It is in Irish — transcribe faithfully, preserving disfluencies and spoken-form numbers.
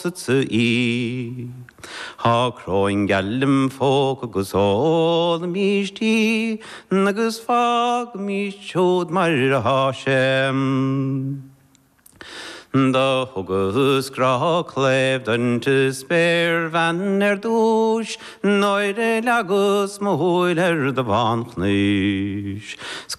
phósadsa í. Tá cróin geal im phóca agus ólaimís í agus fágaimis siúd mar atá sé. Do thugas grá cléibh don spéirbhean ar dtús nuair a leagas mo shúil ar do bhánchnis.